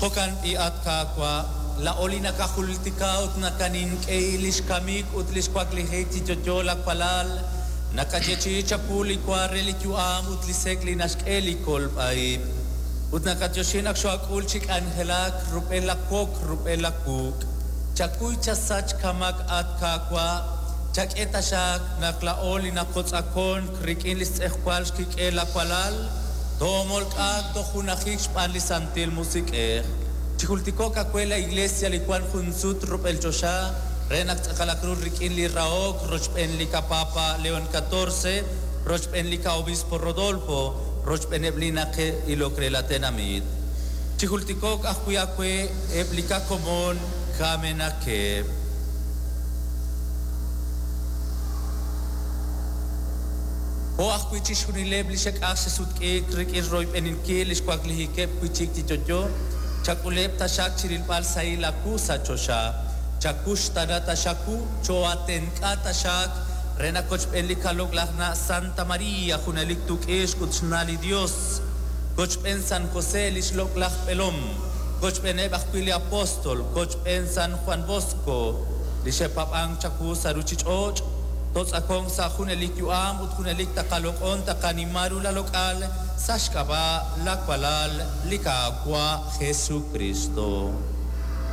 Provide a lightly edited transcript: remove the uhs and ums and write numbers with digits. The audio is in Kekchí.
Jo'kan b'i', at Qaawa', laa'o li nakajultika ut nakanink'ei li xkamik ut li xwaklijik chi yo'yo lawalal, nakayeechi'i chawu li wa re li yu'am ut li sek' li naxk'e li kolb'a-ib'. Ut nakatyoxi naq xoak'ul chi k'anjelak rub'el la wok rub'el la wuuk'. Chakuy chasach kamak at Qaawa', chak'e taxaq naq laa'o li naqotz'akonk rik'in li xtz'ejwal xkik'el lawalal, toomolk'aak toj junajik xb'aan li Santil Musiq'ej. Chijultiko'q aawe la Iglesia li wank jun sut rub'el choxa re naq tz'aqalaq ru rik'in li rahok rochb'een li kapapa León XIV, rochb'een li kaobispo Rodolfo, rochb'eeneb' li naqe'ilok re la tenamit. Chijultiko'q ajwi' aawe eb' li kakomon kamenaqeb'. Jo' ajwi' chixjunileb' li xek'aj xesutk'iik rik'in royb'eninkil li xwaklijikeb' wi' chik chi yo'yo, chak'uleb' taxaq chirilb'al sahil aawu sa' choxa. Chakuxtana taxaku cho'atenk'a taxaq re naq kochb'een li kaloq'laj na' Santa María junelik tuk'ixq ut xna' li Dios. Kochb'een San José li xloq'laj b'elom, kochb'eeneb' ajwi' li apóstol, kochb'een San Juan Bosco li xe'paab'ank chawu sa' ruuchich'och', totz'akon sa' junelik yu'am ut junelik taqaloq'on taqanima ru la loq'al sa' xk'ab'a' lawalal li Qaawa' Jesucristo.